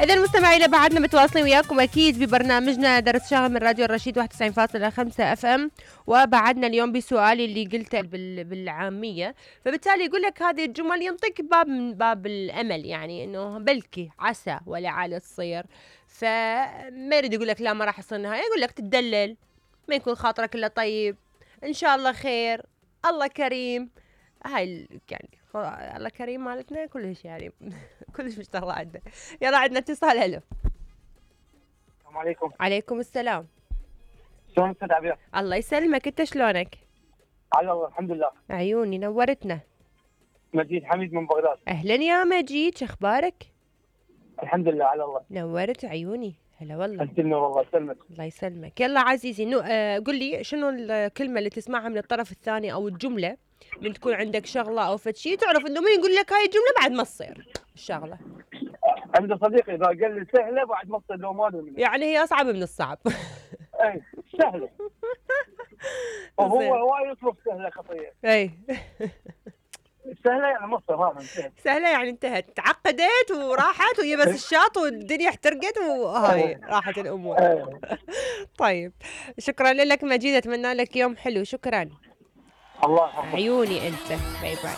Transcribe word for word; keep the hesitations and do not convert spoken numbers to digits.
إذا مستمعينا بعدنا متواصلين وياكم أكيد ببرنامجنا درس شغل من راديو الرشيد واحد وتسعين فاصلة خمسة اف ام. وبعدنا اليوم بسؤالي اللي قلته بالعامية، فبالتالي يقول لك هذه الجمل ينطيك باب من باب الأمل، يعني إنه بلكي عسى ولعل تصير. فما يريد يقول لك لا ما راح يصير نهاية، يقول لك تدلل، ما يكون خاطرك إلا طيب، إن شاء الله خير، الله كريم. هاي يعني الله كريم مالتنا كلش يعني كلش مشتغلة عندنا. يلا عندنا اتصال. هلو، السلام عليكم. عليكم السلام. شلون استاذ عبير؟ الله يسلمك، انت شلونك؟ على الله الحمد لله. عيوني نورتنا. مجيد حميد من بغداد. اهلا يا مجيد، شخبارك؟ الحمد لله على الله. نورت عيوني. هلا والله. انت النور والله يسلمك. الله يسلمك. يلا عزيزي نو... آه قل لي شنو الكلمة اللي تسمعها من الطرف الثاني او الجملة من تكون عندك شغلة او فد شيء تعرف انه مين يقول لك هاي الجملة بعد ما تصير الشغلة. عند صديقي اذا قال لي سهلة بعد ما تصير لو ما ادري. يعني هي اصعب من الصعب. اي سهلة. وهو هواي يطلب سهلة خطية. اي سهلة يعني ما تصير هذا انتهت. سهلة يعني انتهت، تعقدت وراحت وهي بس الشاط والدنيا احترقت وهاي راحت الامور. طيب شكرا لك مجيد، اتمنى لك يوم حلو. شكرا. الله يحفظك. عيوني انت. باي باي.